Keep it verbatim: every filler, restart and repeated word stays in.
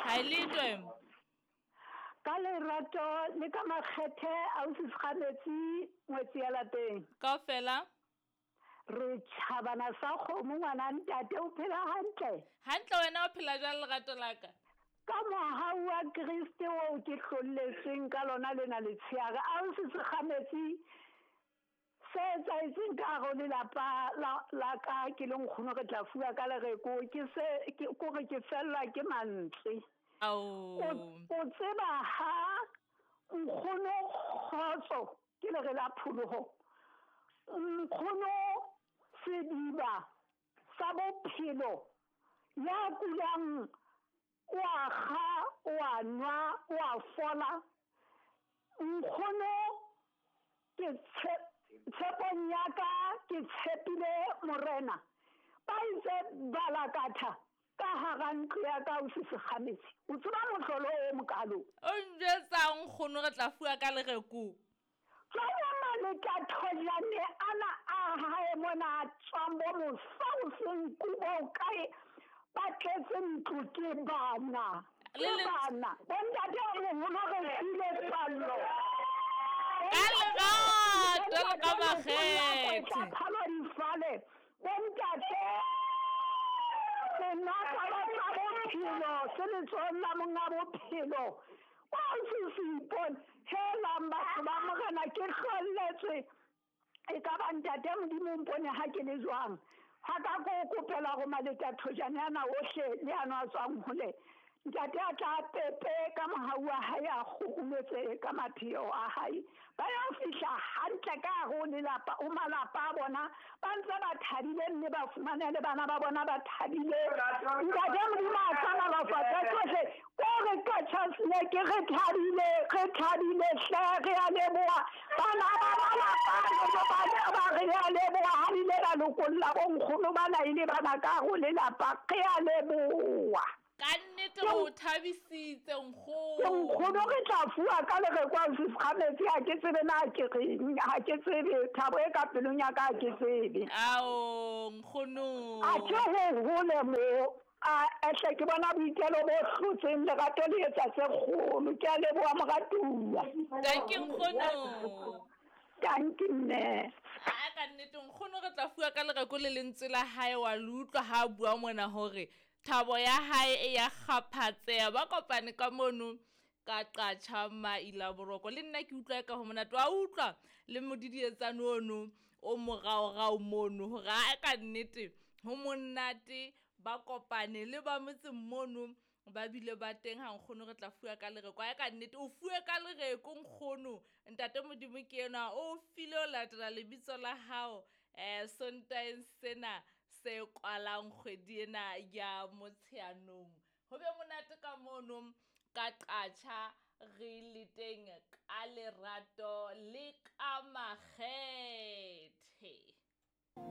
Ha le twe. Ka lerato le ka makgethe ausi Segametsi ngwetsi ya lapeng. Kaofela re tjhabana sa kgomo ngwana ntate o phela hantle. Hantle wena o phela jwang lerato la ka? Ka mohau wa Kriste oo ke hlolletsweng ka lona lena letsheare ausi Segametsi se etsahetseng ka hare ho lelapa la la ka ke le nkgono re tla fuwa ka lereko ke se ke kore ke fellwa ke mantswe. Ao. O tseba ha nkgono kgotso ke lere la pholoho. Nkgono sediba sa bophelo ya kulang o a kga o a nwa o a fola. Nkgono ke tshepong ya ka ke tshepile morena. Ba itse balakatha ka hara ntlo ya ka ausi Segametsi. O tseba mohlolo o mokalo. O njwetsa nkgono re tla fuwa ka lereko. Jwale maleka thojane ana a hae mona a tswang bo mosa o seng kubo kae ba tletse ntlo ke bana. Ke bana. Bontate moholo re file pallo. Ka lerato le ka makgethe. Phalo difale. Bontate senotlolo sa bophelo se letsohong la monga bophelo. Wa se se ipone helang batho ba morena ke hlolletswe. E ka ba ntate Modimo mpone ha ke le jwang. Ha ka ko kopela go maleta thojane ana ohle le ano a tswang hole. Ntate a tla pepe ka mohau wa hae a kgurumetse ka mapheo a hae. Ba ya fihla hantle ka hare ho lelapa o malapa a bona ba ntse ba thabile mme ba fumane le bana ba bona ba thabile. Ntate Modimo a hlohonolofatse tsohle. Ko re ka chance ke re thabile re thabile hle re a leboha. Bana ba malapa ba ba re a leboha ha le ile la lokolla bo nkgono bana ile bana ka hare ho lelapa re a leboha. Ka nnete o thabisitse nkgono. Nkgono re tla fuwa ka lereko ausi Segametsi ha ke tsebe na ke reng ha ke tsebe thabo e ka pelong ya ka ha ke tsebe. Ao nkgono. A ke ho hole mo a ehle ke bona boitelo bo hlotseng lerato le etsa tse kgolo. Ke a leboha moratuwa. Thank you nkgono. Thank you mme. A ka nnete nkgono re tla fuwa ka lereko le lentswe la hae wa le utlwa ha a bua mona hore thabo ya hae e ya kgaphatseha. Ba kopane ka mono ka qatjha maila boroko. Le nna ke utlwa ka ho monate wa utlwa le modidietsane ono o moraorao mono hore a ka nnete ho monate ba kopane le ba motseng mono ba bile ba teng ha nkgono re tla fuwa ka lereko. A ka nnete o fuwe ka lereko nkgono. Ntate Modimo ke enwa o file o latela lebitso la hao eh Sontaeng sena se kwalang kgwedi ena ya Motsheanong. Ho be monate ka mono ka qatjha re le teng ka lerato le ka makgethe.